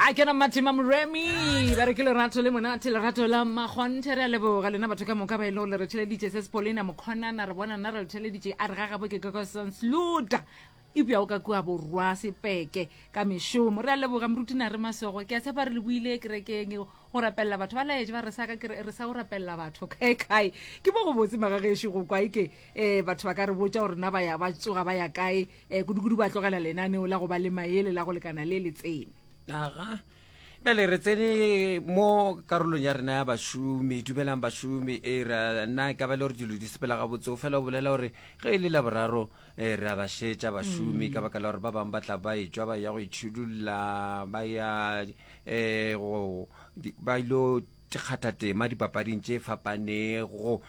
Ga ke na Mathema Moremi, ba re ke lerato le monate, lerato la makgonthe. Re a leboga lena batho ka moka ba e lego le re theleditše. Se Sepolina Mokgonana, re bona nna re le theleditše. A re ga gabo ke Kokosonsluta, eupša o ka kua borwa sepeke ka mešomo. Re a leboga moruti Nare Masogo, ke a tshepa re le buile kerekeng go rapelela batho ba laetše ba re sa ka ke re sa go rapelela batho kae kae. Ke mo go botse magagešo go kwa eke um batho ba ka re botša gore na ba ya ba tsoga ba ya kae um kudukudu ba tlogela lenaneo la go ba le maele la go lekana le le tsene. Aga. Bjale re tsene mo karolong ya rena ya bašomi. Dumelang bašomi. E ra nna e ka ba le gore dilo di sepela gabotse. O fela o bolela gore ge e le Laboraro e re a ba šetša bašomi ka baka la gore ba bangwe ba tla ba etšwa ba ya go itšhidulla ba ya um go ba ilo kgatha tema dipapading tše fapanego.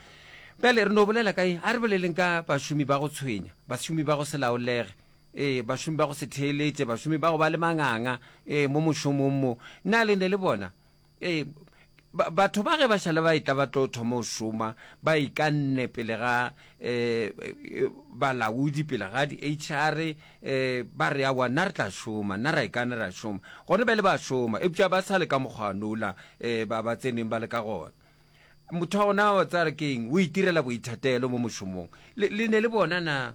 Bjale re no bolela ka eng? A re boleleng ka bašomi ba go tshwenya, bašomi ba go se laolege, ee, bašomi ba go se theeletše, bašomi ba go ba le manganga, ee, mo mošomong mo. Na le ne le bona? Ee, ba, batho ba ge ba šale ba etla ba tlo thoma go šoma, ba ikanne pele ga um balaodi, pele ga di-HR, um ba re aowa nna re tla šoma, nna ra ikana ra šoma. Gone bjale ba šoma, eupša ba sa le ka mokgwanola um ba, ba tseneng ba le ka gona. Motho wa gona wa tsaya re ke eng, o itirela boithatelo mo mošomong. Le, le ne le bona na?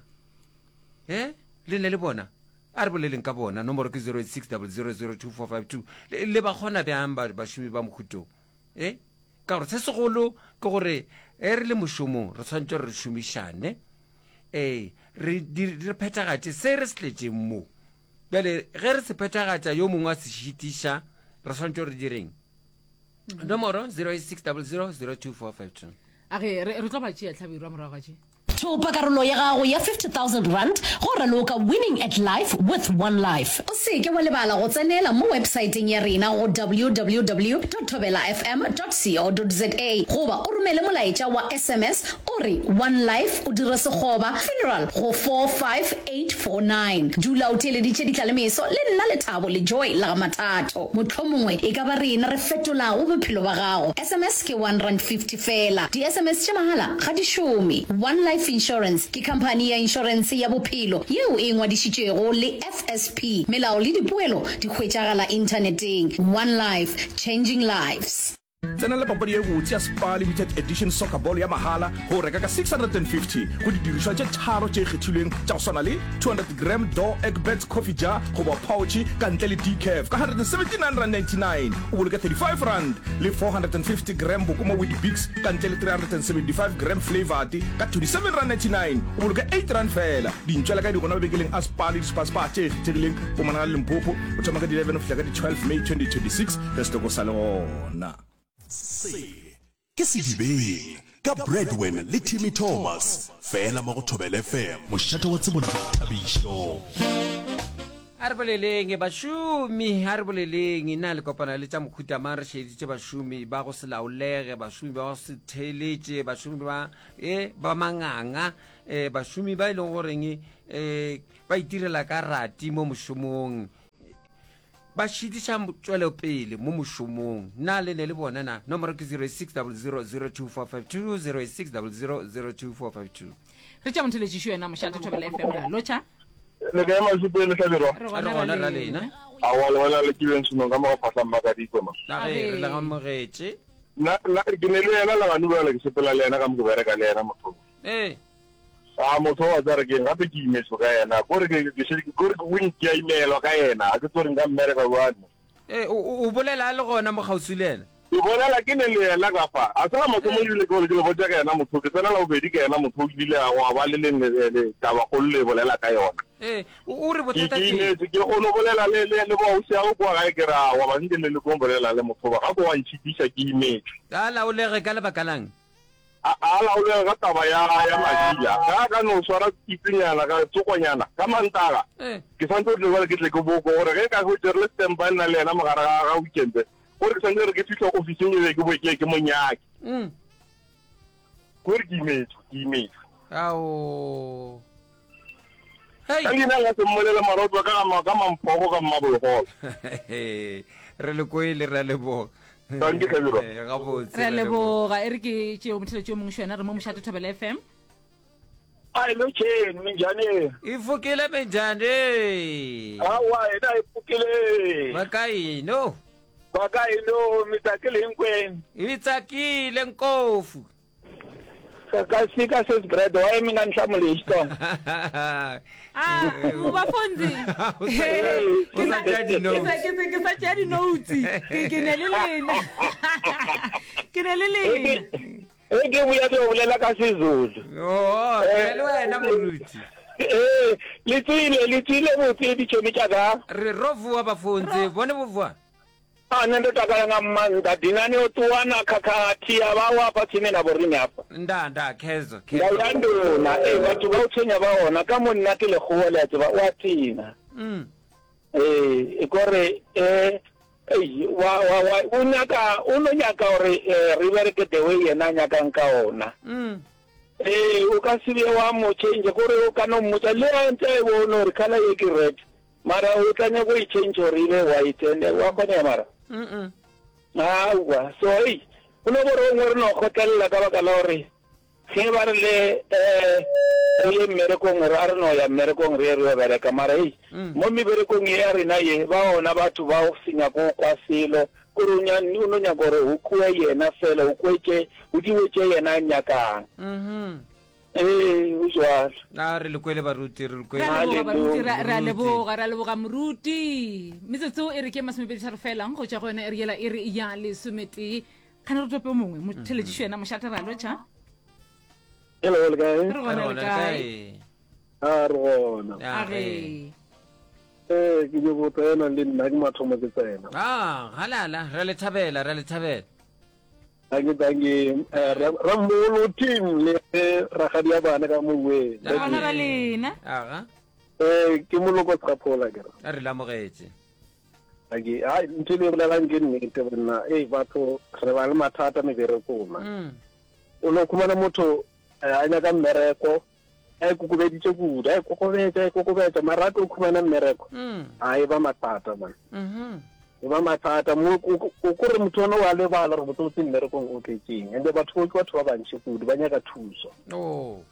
He? Le ne le bona? A re boleleng ka bona. Nomoro ke 086 000 2452. Le, le ba kgona bjang ba, bašomi ba mohuto? E? Ka gore se segolo ke gore ge re le mošomong re swanetše gore re šomišane, ee, re, di, re phethagatše se re se tletšeng mo. Bjale ge re se phethagatša yo mongwe a se šitiša, re swanetše gore re direng? Nomoro 086 000 2452. A ge re, re tlo ba tšea tlhabirwa morago ga tše. Thopa karolo ya gago ya R50,000 go raloka Winning at Life with One Life. O se ke wa lebala go tsenela mo websaeteng ya rena go www dot thobelafm dot co dot za goba o romele molaetša wa sms o re One Life o dire sekgoba funeral go 45849. Dula o theeleditše Ditlalemeso le nna Lethabo le Joy la ga Mathatho. Mohlomongwe e ka ba rena re fetolago bophelo ba gago. Sms ke R1.50 feela. Di-sms tša mahala ga di šome. One Life Insurance ke khamphani ya inšorense ya bophelo yeo e ngwadišitšwego le FSP. Melao le dipoelo di hwetšagala inthaneteng. One Life, changing lives. Tsenela papadi ye botse ya Spar Limited Edition Soccer Ball ya mahala go reka ka 650 go didirišwa tše tharo tše kgethilweng tša go swana le 200 gram Door Egberts Coffee Jar goba pouch ka ntle le decaf ka R179.99, o boloke R35, le 450 gram Bokoma Weet-Bix ka ntle le 375 gram Flavoured ka R27.99, o boloke R8 feela. Dintšwela ka di gona mabenkeleng a Spar le di-Spar-Spar tše kgethegileng Mpumalanga le Limpopo go thoma ka di 11 go fihla ka di 12 May 2026 ge setoko sa le gona. Se ke Sedibeng ka Bradwin le Timmy Thomas fela mo go Thobela FM, mošate wa tsebo le boithabišo. A re boleleng bašomi, a re boleleng. Na le kopana le tša mohuta mang? Re šeditše bašomi ba go se laolege, bašomi ba go se theeletše, bašomi ba e ba manganga, e bašomi ba e leng goreng e ba itirela ka rati mo mošomong. Ba šitiša tšwelopele mo mošomong. Na le ne le bona na? Nomoro ke 0600024520, 0600024520. Re tša motheletšišo yena mošate Thobela FM ra lotšha. Le kae Mašupeng le Hlabirwa? Re Re gona gona ra ra lena. lena. Aowa le wena le ke beng senong ka mo ga phahla Mmakadikwe ma. Na ge re le amogetše. Nna nna ke ne le yena Laganu bjale ke sepela le yena ka mo ke bereka le yena motho. Ee. A motho wa tsare keng gape ke imetswe ka yena kore ke ke šetše kore ke win ke a imelwa ka yena ga ke tsore nka mmereka jwang. Ee, o, o bolela a le gona mo kgauswi le yena? Ke bolela ke ne le yena ka fa. A se ga mathomo ebile ke gore ke le botša ka yena motho, ke tsena la bobedi ka yena motho ebile ga gwa ba le leng le, le tabakgolo le bolela ka yona. Ee, o, o re Ke, bothata ke ke eng? imetswe, ke kgono bolela le, le, le boausi ago kua gae ke re aowa ba nke le lekong bolela le motho ba, gape wa ntšhitiša ke imetswe. Ga a laolege ka lebaka la'ng? A a laolege ka taba ya, ya madila. Ge a ka no swara pitsenyana, ka tsokonyana, ka Mantaga, ke santse gore jwale ke tle ke boko, gore ge ka hwetše re le standby nna le yena mogare ga, ga weekend, gore ke santse gore ke fihla ofising e be ke boe ke ye ke mo nyake. Gore ke imetšwe, ke imetšwe. Ao. Hei. Ka leina nka se mmolele mara o tswa ka ga, ka Mamphogo ka Mmabologolo. Re le kwele, re a leboga. Dankie Hlabirwa. Eh, gabotse Re a re a leboga. leboga. E re ke tšeo motheletši yo mongwe šo yena re mo mošate Thobela FM. A lotšheni minjhani. I pfukile minjhani. Awa hina hi pfukile. Va ka yino. Va ka yino mi tsakile hinkwenu. Hi tsakile nkofu. Ka fika sis Brad why mi nga ni hlamuli hi Xitsonga? Ah, bafonzi. O sa tšea di-notes. Ke sa tšea di-notes. Ke ne le lena. Ke ne le lena. Ge ke boya ke yo bolela ka Sezulu. Oo, ke le wena moruti. Ee, le tswile, le tswile botse ditšhomi tša ka. Re ro vuwa bafontse, bone bo vuwa. A nṋe ndo takala nga maanḓa dinani o ṱuwa na khakhathi ya vha wa hafha tsini na vhoriṋe hafha. Nda, nda, khezo, Nda khezo. ya nduna, ee vhathu vha u tshwenya vha hona ka monna ke lekgowa le a tseba o a tena. Mm. Ee, e kore eh Ei, wa, wa, wa, o nyaka, o no nyaka gore eh, re bereke the way yena a nyakang ka ona. Mm. Ee, o ka se be wa mo change, kore o ka no mmotsa le a ntse a e bone gore colour ye ke red, mara o tla nyaka go e change gore e be white, and wa kgonega mara? Mm -mm. Aowa, so ei, go no bo re gongwe re no kgotlelela ka baka la gore Ge ba rile re ye mmerekong, re a re no ya mmerekong re ye re yo bereka. Mara hei, mo meberekong ye ya rena ye, ba ona batho ba go se nyake go kwa selo, kore o nya, o no nyaka gore go kwe yena fela, go kwe tše, go diwe tše yena a nyakang. Ee, go jwalo. A re le kwele baruti, re le kwele. Re a leboga baruti, re a Moruti. leboga, re a leboga moruti. Metsotso e re ke masomepeditharo fela go tšwa go yona e re yela e re ya lesometee. Kgane re tope o mongwe motheletšišo yena mošate ra lotšha. Hello, le kae? Re gona le kae? A re gona. A re. Eh, ke nyoko tsena le nna ke mathomo ke tsena. Ah, halala, re le thabela, re le thabela. Danke, danke. Eh, Rammolo team le ragadi ya bana ka mongwe. Re gona ba lena. Aga. Eh, ke moloko Sekgaphola ke re. A re lamogetse. Ake, hai, ntho e le bolelang ke nnete banna. Ei, batho re ba le mathata meberekong man. Mm. O no khumana motho eh, a nyaka mmereko, a ikokobeditše kudu, a ikokobetša, a ikokobetša, mara a tlo khumana mmereko, Mm. a e ba mathata man. Mhm. E ba mathata mo o o kore motho ona o a lebala gore botsebotse mmerekong o tletseng. And batho bo ke batho ba bantši kudu, ba nyaka thuso. Oh.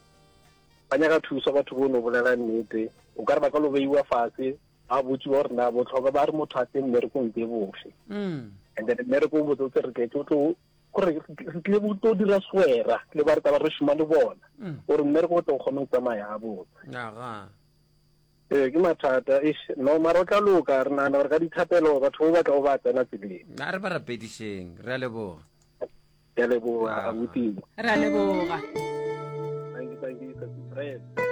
Ba nyaka thuso batho bo no bolela nnete. O ka re ba ka lo beiwa fase, Ba botšiwa gore na bohlokwa ba re motho a tle mmerekong ke bofe. Mm. And then mmereko o botsotse re tletse o tlo gore re tlile go tlo dira swera le ba re taba re šoma le bona mm. gore mmereko o tlo kgone go tsamaya gabotse. Aga. Ee, ke mathata eish no mara o tla loka re nagana gore ka dithapelo batho bo batla go ba tsena tseleng. A re ba rapedišeng re a leboga. Ke a leboga abuti. Re a leboga. Thank you, thank you, Brad.